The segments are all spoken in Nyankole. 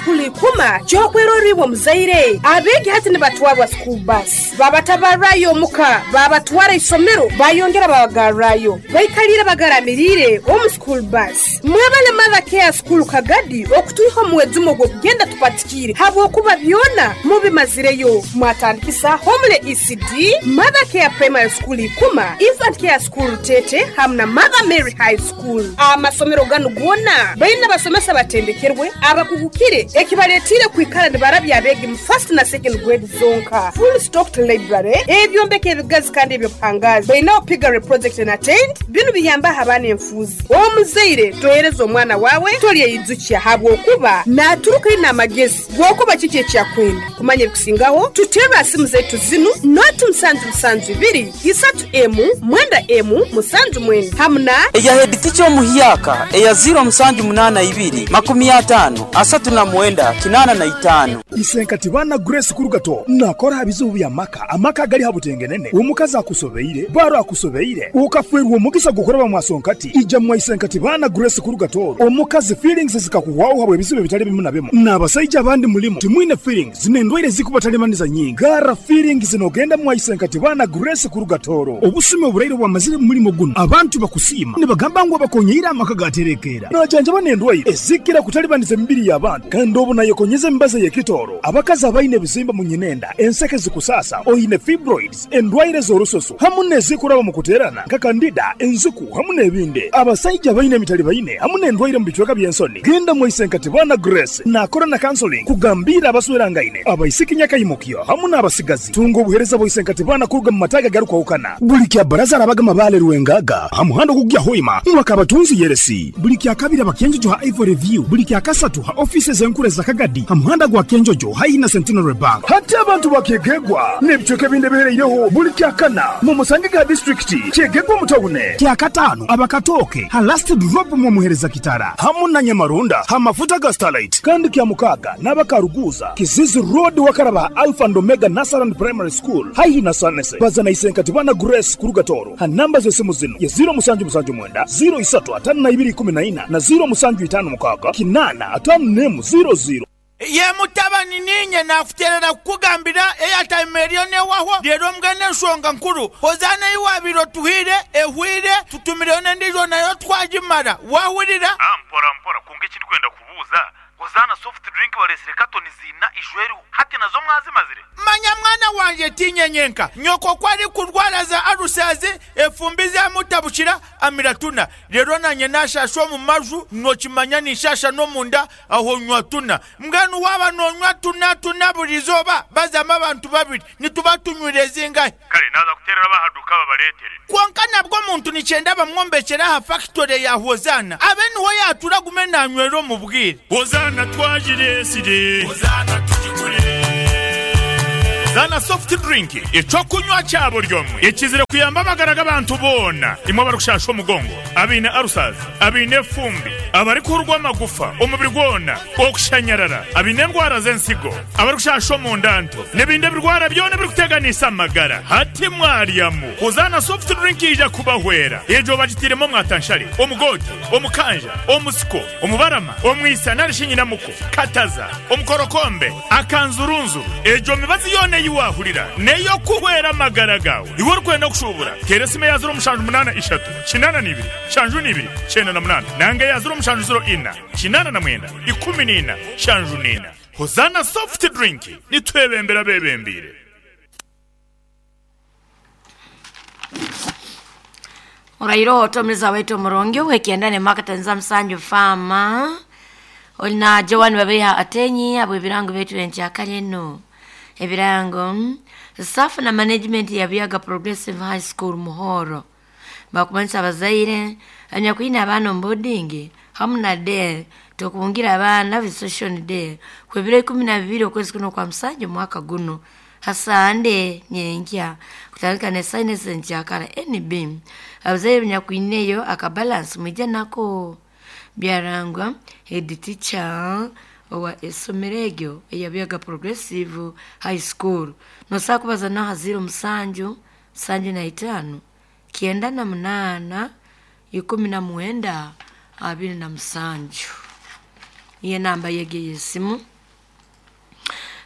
School Ikuma ky'okwerora iwe omuzaire. Abeegi hati nibatwarwa school bus babatabarrayo omuka babatwara isomero bayongera babagarrayo. Baikaliire bagaramiriire omu school bus. Mwebale Mother Care School Kagadi okutwiha omu mwedzimo gw'okugenda tupatikiire habw'okuba byona mubimazireyo. Mwatandikisa Homely ECD, Mother Care Primary School Ikuma, Infant Care School Rutete hamu na Mother Mary High School. Amasomero ganu goona baine abasomesa abatendekerwe, abakugukire ekibaletiire kwikara nibarabya abeegi mu first na second grade zonka. Full stocked library, ebyombeko ebigazi kandi eby'obuhangaazi. Baineho piggery project na tent, binu biyambaho abaana enfuuzi. Omuzaire tohereza omwana waawe toryeyijukya habwokuba naaturuka aine amagezi g'okuba kiki eki akwenda. Kumanya ebikusingaho, tuteerre aha simu zaitu zinu, noti musanju musanju ibiri, isatu emu, mwenda emu, musanju mwenda hamu na. Eya headteacher omuhyaka eya ziiro musanju munaana ibiri, 50, 39, 85. Isenkati baana Grace Kurugato nakora aha bizibu bya maka, amaka agali ha butengenene, omukazi akusobeire, baro akusobeire, okafwerwa omugisa gw'okuraba mwasonkati, ija mwa Isenkati baana Grace Kurugato omukazi feelings zikakuhwaho habw'ebizibu ebitali bimu na bimu. N'abasaija abandi mulimu timwine feelings n'endwaire ezikubatalibaniza nyingi. Garra feelings nogenda mwa Isenkati baana Grace Kurugatoro. Obusumi oburaire obwamazire mu mulimo gunu abantu bakusiima nibagamba ngu abakonyeire amaka gaterekeera. Najanjaba n'endwaire ezikira kutalibaniza emibiri y'abantu kandi obu nayekonyeza emibazi ey'ekitooro. Abakazi abaine ebizimba mu nyinenda, enseke zikusaasa, oine fibroids, endwaire z'orususu hamu n'ezikuraba omu kuteerana nka kandida, enziku hamu n'ebindi. Abasaija abaine emitalibaine hamu n'endwaire omu bicweka by'ensoni, genda mwaise nka Tibana Grace naakora na counseling kugambiira abaswerangaine, abaisiki nyakaimukyo hamu n'abasigazi. Tunga obuheereza bwa Isenkati Baana kuruga mu mataagi agarikwahukana. Buli kya Baraza arabaga Mabaale Rwengaga aha muhanda ogukugya Hoima mwaka Abatunzi Yeresi. Buli kya Kabiri aba Kyenjojo ha Ivory View. Buli kya Kasatu ha ofiisi ez'enkuru eza Kagadi ha muhanda gwa Kyenjojo haihi na Centenary Bank. Hati abantu ba Kyegegwa n'ebicweka ebindi ebihereireho buli kya Kana mu musange ga disiturikiti Kyegegwa omu tawune. Kya Kataano aba Katooke ha Last Drop mu Omuhereza Kitara hamu na Nyamarunda ha mafuta ga Starlight. Kandi kya Mukaaga n'aba Karuguuza, Kizizi Road wakaraba ha Alpha and Omega Nursery and Primary School haihi na Sanese. Baza na Isenkati Bwana Grace kuruga Tooro ha namba z'esimu zinu ye 0779 03 52 14 na 0756 851 00. Ye mutabani, niinye naakuteerera kukugambira eyataima eriyo n'ehwaho, reero mbwenu enshonga nkuru, Hozaana ei waabaire otuhaire ehwaire, tutumireyo n'endiijo nayo twagimara. Waahurira? Mpora mpora, kwonka eki ndikwenda kubuuza, Hozaana soft drink bareetsire katoni ziina ijo eriho, hati nazo mwazimazire? Manya mwana wangye, tiinye nyenka. Nyoko ku arikurwara za alusazi, efumbi zaamutabukira, amira tuna. Reero naanye naashaasha omu maju, nookimanya ninshaasha n'omunda, aho nywa tuna. Mbwenu waaba noonywa tuna tuna buri izooba, bazamu abantu babiri, nituba tunywire zingahi? Kare naaza kuteerera ab'aha duuka babareetere. Kwonka nabwo omuntu nikyenda bamwombekyere aha fakitore ya Hozaana, abe niho yaatura agume naanywera omu bwire. Hozaana twagireetsire. Hozaana tugigure. Hozaana soft drink, eky'okunywa kya buri omwe ekizire kuyamba amagara g'abantu boona. Imwe abarikushaasha omugongo, abaine ulcers, abaine efumbi, abarikuhurwa amagufa omubiri gwona, okushanyarara, abaine endwara z'ensigo, abarikushasha omunda nto, n'ebindi ebirwara byona ebirikuteganisa amagara. Hati mwaryamu Hozaana soft drink yaija kubahwera. Egyo bagitairemu omwatanshare, omugoote, omukanja, omusiko, omubarama, omwisa nari shi nyinamuko, kataza, omukorokombe, akanzurunzuru. Egyo mibazi yoona ei waahurira n'ey'okuhwera amagara gaawe. Iwe orikwenda kushuubura, teera esimu eya 0783 82 72 98 nanga eya 0704 89 14 74. Hozaana Soft Drink, nitwebembera abeebembeire. Oraire otomiza waitu omurungi ow'ekyenda ne Marketing Musanju Farm oli na Joan Babeiha Atenyi habw'ebirango byaitu enkyakare enu. Ebirango, Staff na management ya Buyaga Progressive High School Muhoro bakumanyisa abazaire anyakwine abaana omu boarding hamu na day tokubungira abaana visitation day kw'ebiro 12 okwezi kuno kwa Musanju omwaka guno ha Sande nyenkya kutandika ne saina ezenkyakara NB abazaire benyakwineyo akabalance mwije nako. Byarangwa head teacher owa esomero eryo eya Buyaga Progressive High School. Nosobola kubaza naha 07 75 98 19 27. Niyo enamba yegi ey'esimu.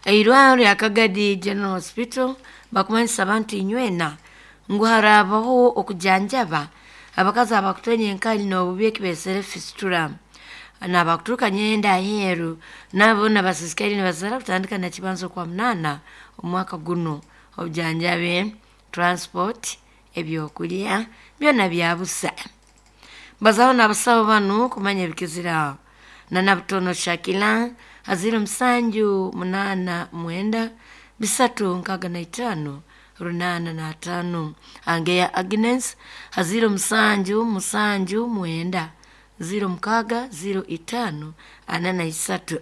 Eirwariro rya Kagadi General Hospital bakumanyisa abantu inywena ngu harabaho okujanjaba abakazi abakutwenya enkali n'obubi ekibesere fistula nabakuturuka nyenda aheeru nabo nabasisikari nibazara kutandika na kibanza okwa munana omwaka guno. Obujanjabi, transport, ebyokulya byona byabusa. Bazaho n'abasawo banu kumanya ebikizira na Butono Shakila aziro 7 8 9 3 65 85. Angeya Agnes aziro 7 7 9 06 05 43.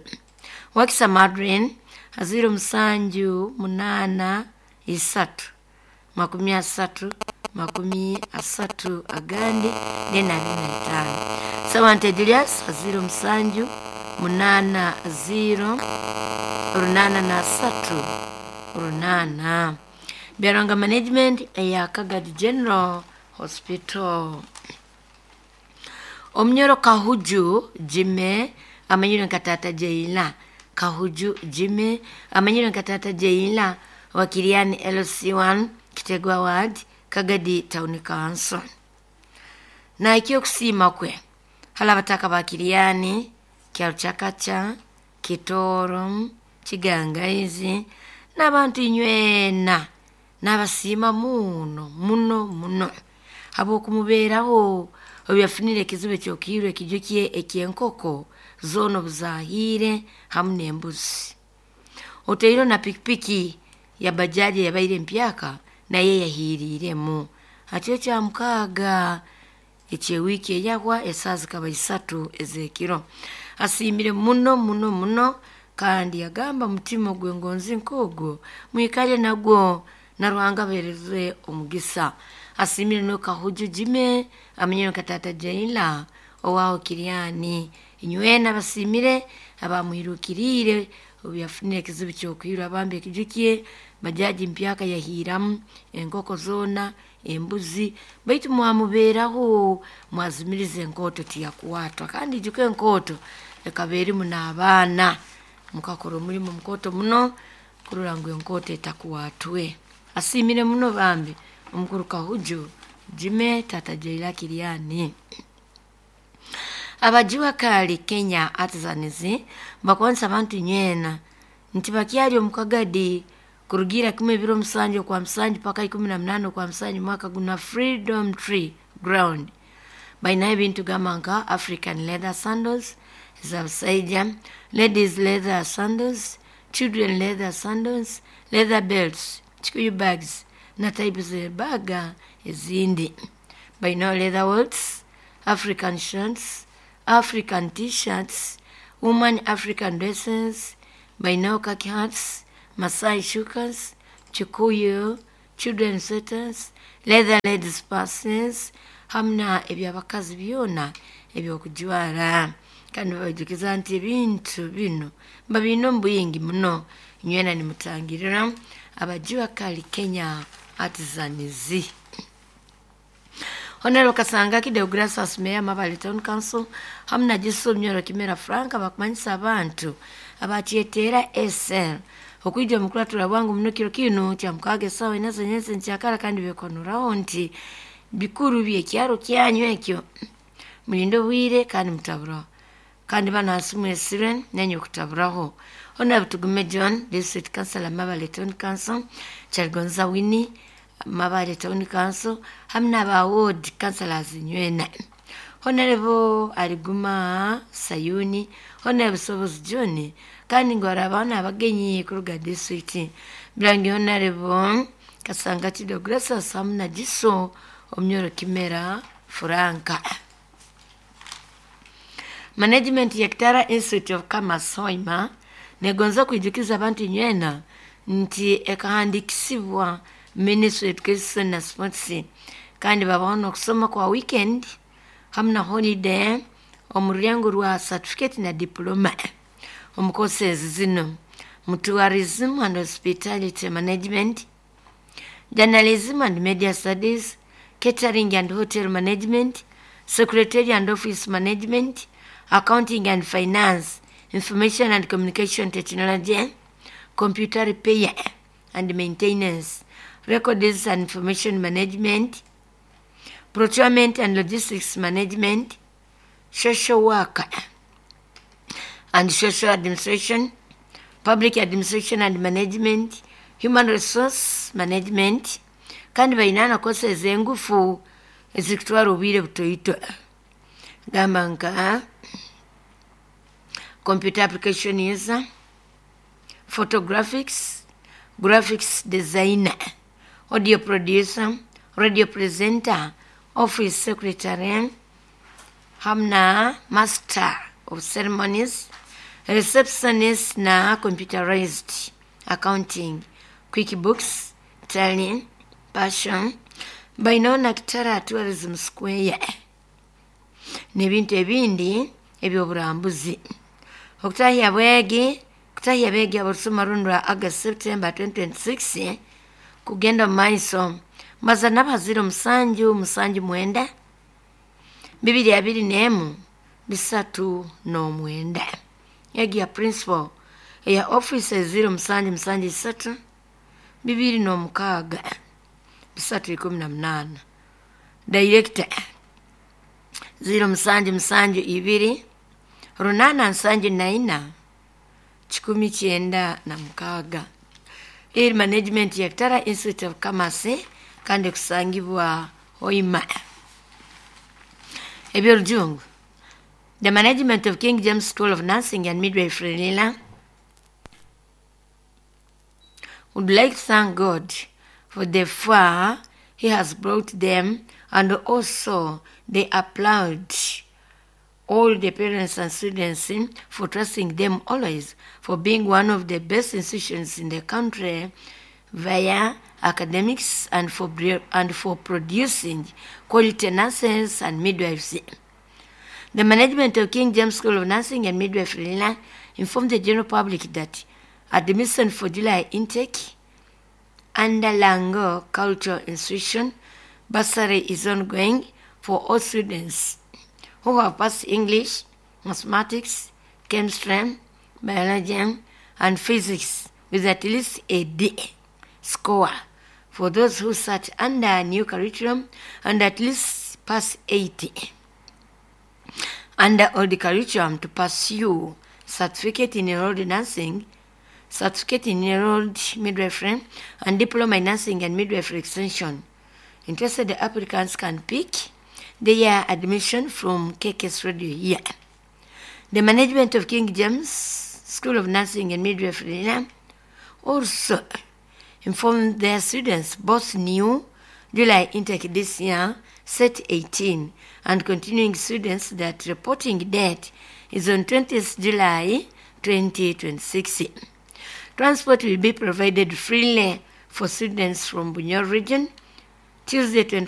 Wakisa Madrin aziro 7 8 3 30 30 agandi nena 25. Sawante Julius aziro 7 8 0 8 3 8. Byaranga Management eya Kagadi General Hospital. Omunyoro Kahuju Jime amanyire nka Tata Jeila. Kahuju Jime amanyire nka Tata Jeila wa Kiriani LC1 Kitegwa Ward Kagadi Town Council. Na ikyo kusiima kwe hala bataka ba Kiriani, Kyaruchakacha, Kitoro, Kigangaizi n'abantu inywena n'abasiima muno muno muno habw'okumubeeraho obyafunire ekizibu ekyokiirwe ekijukye ekyenkoko zoona obuzahiire hamu n'embuzi. Oteire na pikipiki ya bajaji yabaire empyaka naye yahiiriiremu. Hakiro kya mukaaga ekyewiiki eyahwa esaaha zikaba 3 ez'ekiro. Asiimire muno muno muno kandi yagamba mutima ogw'engonzi nk'ogwo mwikale nagwo na Ruhanga abaheereze omugisa. Asiimire no Kahuju Jime amanyire nka Tata Jaila owaho Kiriani. Inywena abasiimire abamwirukiriire obu yafunire ekizibu ky'okwirwa abambi ekijukye bajaji mpyaka yahiiramu enkoko zoona embuzi baitu mwamubeeraho mwazimiriza enkooto tiyakwatwa kandi ijuka enkooto ekaba erimu n'abaana mukakora omurimo mukooto muno kurora ngu enkooto etakwatwe. Asiimire muno bambi omukuru Kahuju Jime Tata Jaila Kiriani. Abajiwa kali Kenya Artisans bakwanisa abantu nywena nti bakyali omu Kagadi kurugira kimwe ebiro 7 okwa 7 paka 18 okwa 7 mwaka guna Freedom Tree Ground. Bainayo ebintu gamba nka African leather sandals ez'abasaija, ladies leather sandals, children leather sandals, leather belts, kikuyu bags na type z'ebaga ezindi. Bainayo leather wallets, African shirts, African t-shirts, woman African dresses, bainayo khaki hats, Masai shukas, kikuyu, children sweaters, leather ladies purses, hamu na eby'abakazi byona eby'okujwara. Kandi babajukiza nti ebintu bino babiine omu bwingi muno nywena nimutangirira abajiwa kali Kenya Artisans. Honorable Kasanga Deogratias Mayor Mabale Town Council hamu na Jisu Mnyoro Kimera Frank bakumanyisa abantu abakyetera SL okwija omukuratura bwangu muno kiro kinu kya mukaaga esaawa ina z'enyensi nkyakara kandi bekonuraho nti bikuru byekyaro kyanyu ekyo mulinde obwire kandi mutaburaho kandi bano hansi mwesire nenye okutaburaho. Honorable Tugume John District Councilor Mabale Town Council, Kyaligonza Winnie Mabale Town Council hamu n'aba ward councillors nywena. Honorable Aliguma Sayuni, Honorable Sobozi John kandi ngu harabaho n'abagenyi kuruga district. Birangi Honorable Kasanga Deogratias hamu na Jiso Omunyoro Kimera Franka. Management ya Kitara Institute of Commerce Hoima negonza kwijukiza abantu nywena nti ekahandikisibwa Ministry of Education na Sports kandi babaho n'okusoma kwa weekend hamu na holiday omu rurengo rwa certificate na diploma omu courses zino mu tourism and hospitality management, journalism and media studies, catering and hotel management, secretarial and office management, accounting and finance, information and communication technology, Computer Repair and Maintenance, Records and Information Management, Procurement and Logistics Management, Social Work and Social Administration, Public Administration and Management, Human Resource Management, kandi baine na courses engufu ezikutwara obwire butoito gamba nka computer application user, photographics, graphics designer, audio producer, radio presenter, office secretary, hamna master of ceremonies, receptionist na computerized accounting, QuickBooks, Tally, Passion, baineho na Kitara Tourism Square n'ebintu ebindi eby'oburambuzi. Okutahya bwegi kutahya abeegi abarusoma runu rwa August September 2026 kugenda omu maiso maza n'abazire 7 7 9 2 21 39. Egi ya principal eya office 0 7 7 3 2 6 318. Director 0 7 7 2 8 7 4 196. Eri management ya Kitara Institute of Commerce kandi kusangibwa Hoima. Eby'orujungu. The management of King James School of Nursing and Midwifery Lila would like to thank God for the far he has brought them, and also they applaud all the parents and students for trusting them always, for being one of the best institutions in the country via academics and for producing quality nurses and midwives. The management of King James School of Nursing and Midwifery Lila informed the general public that admission for July intake under Lango Cultural Institution bursary is ongoing for all students who have passed English, mathematics, chemistry, biology, and physics with at least a D score. For those who sat under new curriculum and at least pass 80 under old curriculum to pursue certificate in enrolled nursing, certificate in enrolled midwifery, and diploma in nursing and midwifery extension. Interested applicants can pick their admission from KKS Radio here. The management of King James School of Nursing and Midwifery also informed their students both new July intake this year, set 18, and continuing students that reporting date is on 20th July 2026. Transport will be provided freely for students from Bunyoro region, Tuesday 24.